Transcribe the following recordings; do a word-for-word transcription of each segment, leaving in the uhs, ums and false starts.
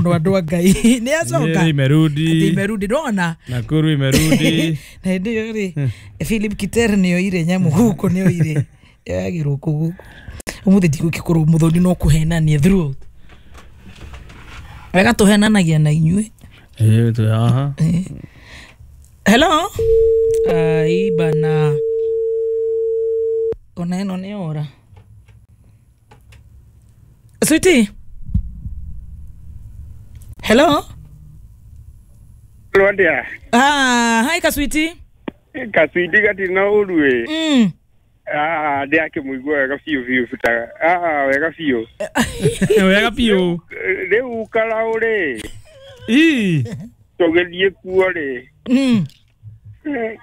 Mũno andũ a Ngai nĩ acoka. Nyeri imerudi. Ati imerudi, ndona. Nakuru imerudi. Na hĩndĩ ĩyo rĩ, Philip Kiter nĩ oire nyamũ gũkũ, nĩ oire yagĩrwo kũ gũkũ ũmũthĩ ndigũgĩkorwo mũthoni no kũhenania throughout wega tũhenanagia na inyuĩ. Eh, tu aha. Hello, ai bana, ona ĩno nĩ ora sweetie. Hello. Rwandia. Ah, hi ka sweetie. Kaswidi gatirĩ na ũru ĩ. mm. Ah, ndĩrakĩmũigua wega biũ biũ ta ah wega biũ. Wega biũ. Rĩu Karaũ rĩ, Ii. tũgĩthiĩ kuo rĩ, Mm.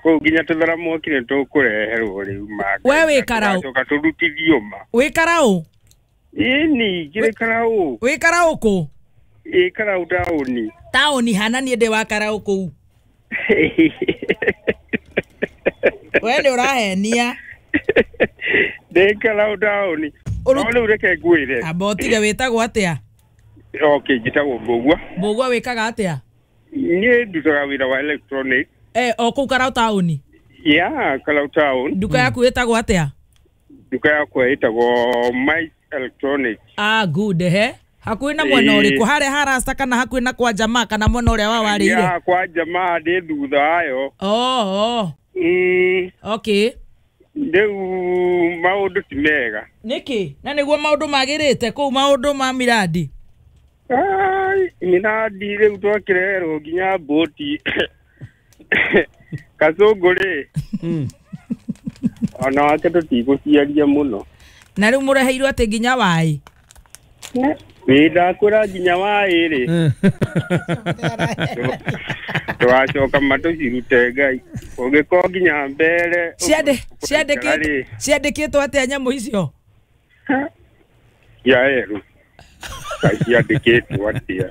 kũu nginya tũthara mwaki nĩ tũkũreherwo rĩu ma. We wĩ Karaũ? Tũgacoka tũrutithio ma. Wĩ Karaũ? Ĩni ngĩrĩ Karaũ. Wĩ Karaũ kũ? Ĩ Karaũ taũni. Taũni hana niĩ ndĩ wa Karaũ kũu. We nĩ ũrahenia. Ndĩ Karaũ taũni. Ũru- No rĩu reke ngwĩre. Amba ũtige, wĩtagwo atĩa? Okay, njĩtagwo Mbũgua. Mbũgua, wĩkaga atĩa? Niĩ ndutaga wĩra wa electronic. Eh, o kũu Karaũ taũni? Ya, Karaũ town. Nduka yaku ĩtagwo atĩa? Nduka yakwa ĩtagwo Mike Electronic. Ah, good. He hakuhĩ na mwena Ĩĩ. ũrĩkũ, harĩa harasta kana hakuhĩ na kwa jamaa kana mwena ũrĩa wa warĩire? Ya kwa jamaa, ndĩ thutha wayo. Oh, oh. Mm, okay. Rĩu maũndũ ti mega. Nĩkĩ na nĩguo maũndũ magĩrĩte kũu, maũndũ ma miradi? Ai, miradi rĩu twakĩreherwo nginya mbũti kacũngũ rĩ, Mm. ona wake tũtigũciaria mũno. Na rĩu mũreheirwo atĩ nginya waĩ? Ĩ, ndakwĩra nginya waĩ rĩ, tũgacoka matũcirute Ngai ũngĩkorwo nginya mbere. Ciandĩ- Ũkũikara rĩ, ciandĩkĩtwo ciandĩkĩtwo atĩa nyamũ icio? Cia erũ Ngai, ciandĩkĩtwo atĩa?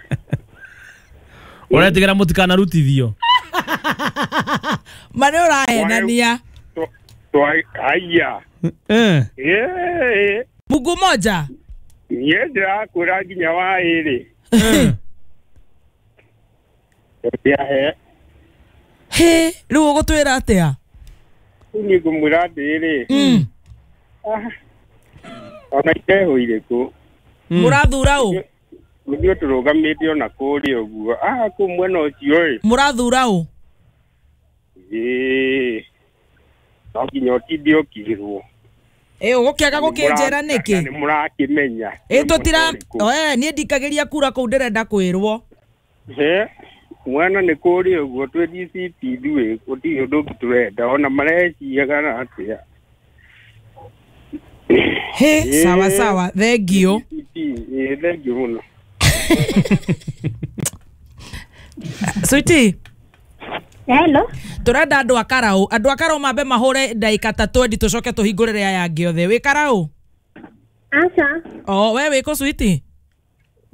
Ũretigĩra mũtikanarutithio. Ma nĩ ũrahenania. Twa- twa- aya. Eh. Ĩĩ. Mungu moja. Niĩ ndĩrakwĩra nginya waĩ rĩ, tũtiahe. Hĩ, rĩu ũgũtwĩra atĩa? Rĩu niĩ ngũmwĩra atĩrĩrĩ, Mm. ah, ona iteho irĩkũ. Mũrathura ũ? Nĩguo tũrũgamĩte ona kũrĩa ũguo, ah, kũu mwena ũcio ĩ. Mũrathura ũ? Ĩĩ, no nginya ũtinde ũkĩrwo. Ĩ, ũgũkĩaga gũkĩnjĩra nĩkĩ? Nĩ mũrakĩmenya. Ĩ, tũtira Nĩ ũrĩkũ. eh niĩ ndikagĩria kura kũu, ndĩrenda kwĩrwo. He mwana nĩ kũrĩa ũguo twĩ D C P, ithuĩ gũtirĩ ũndũ ũngĩ tũrenda ona mareciaga na atĩa. Hĩ, Ĩ. sawa sawa, thengio. D C P, ĩ, thengio mũno. Sweetie. Hello. Tũrenda andũ a Karaũ, andũ a Karaũ mambe mahũre ndagĩka ta twendi, tũcoke tũhingũrĩre aya angĩ othe. Wĩ Karaũ? Aca. O we wĩ kũ, sweetie?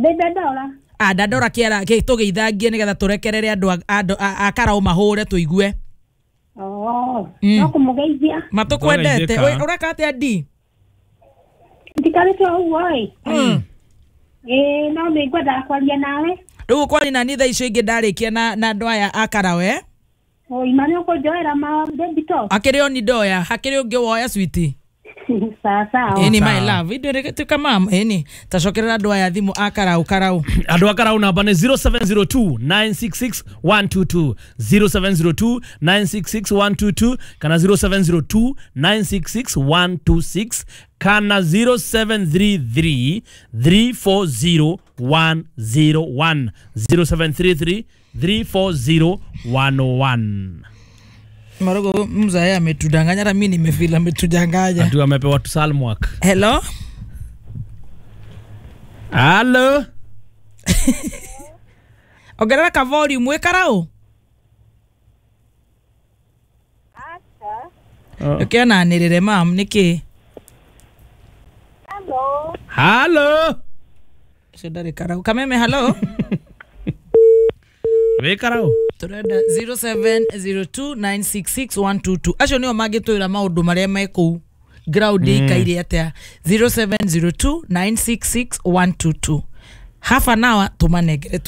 Ndĩ Dandora. Ah, Dandora kĩara kĩ- tũgĩithangie nĩgetha tũrekerere andũ a- andũ a a Karaũ mahũre tũigue. Oh, Mm. no kũmũgeithia. Matũkwendete. Tũgeithĩka. Wĩ- ũreka atĩa ndi? Ndikarĩte o ũguo ĩ. Mm. Ĩ, no nĩ ngwendaga kwaria nawe. Rĩu ũkwari nani thaa icio ingĩ ndarĩkia na na andũ aya a Karaũ, eh? Ũima nĩ ũkũnjoera ma baby talk. Akĩrĩ oni ndoya, hakĩrĩ ũngĩ woya, sweetie? Sawa sawa. Ĩni my Sawa. love, ithuĩ tuĩka mam ĩni tacokerera andũ aya thimũ a Karaũ Karaũ. Andũ a Karaũ namba nĩ zero seven zero two nine six six one two two, zero seven zero two nine six six one two two kana zero seven zero two nine six six one two six kana zero seven three three three four zero one zero one, zero seven three three three four zero one zero one. Marogo mzae ametudanganya, hata mimi nimefeel ametudanganya. Atu amepewa tu salmwak. Hello. Halo. Ongerera ka volume. Wĩ Karaũ? Ũkĩonanĩrĩre mam nĩkĩ? Hello. Halo. Ũcio ndarĩ Karaũ. Kameme, hello. Wĩ Karaũ? Tũrenda zero seven zero two nine six six one two two, acio nĩo mangĩtwĩra maũndũ marĩa me kũu ground ĩikaire atĩa. zero seven zero two nine six six one two two, half an hour tũmanengere.